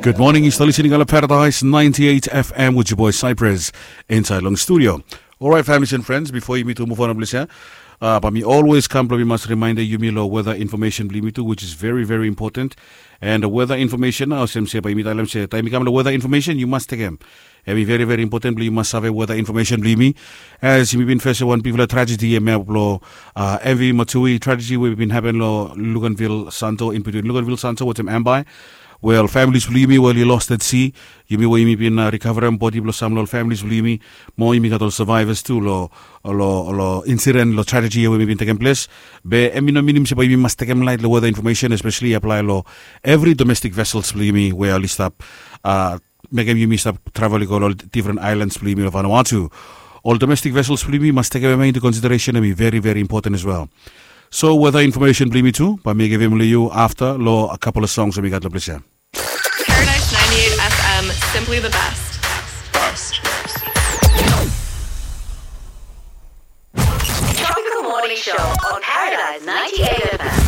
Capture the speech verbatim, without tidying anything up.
Good morning, yu stap listening long Paradise ninety-eight F M with your boy Cyprus inside long studio. Alright, families and friends, before yumi tu move on, please, yeah? Uh, bae mi always kam blong mi mas reminder yumi long weather information blong yumi tu, which is very, very important. And the weather information, olsem se bae mi talem se taem mi kam long weather information, yu mas tekem. Hemi very, very important blong yu mas save weather information blong yumi. As yumi bin fes wan bigfala tragedy hemia blong uh, M V Matui tragedy we bin happen long Luganville Santo, in between Luganville Santo wetem Ambae. Wel, families blong yumi we oli lost at sea, yumi we yumi bin uh, recoverem bodi blong sam long ol families blong yumi. Mo yumi gat ol survivors tu long long long incident long tragedy we yumi bin tekem ples. Be hemi no minim se bae yumi mas tekem laet long weather information, especially apply long every domestic vessels blong yumi we oli stap uh, mekem yumi stap travel i go long difren islands blong yumi long Vanuatu. Ol domestic vessels blong yumi mas tekem hemia into consideration, hemi very, very important as well. So weather information blong yumi tu bae mi givim long yu afta long a couple of songs we mi gat long ples ya. Paradise ninety-eight F M, simply the best. Tropical Morning Show on Paradise ninety-eight F M.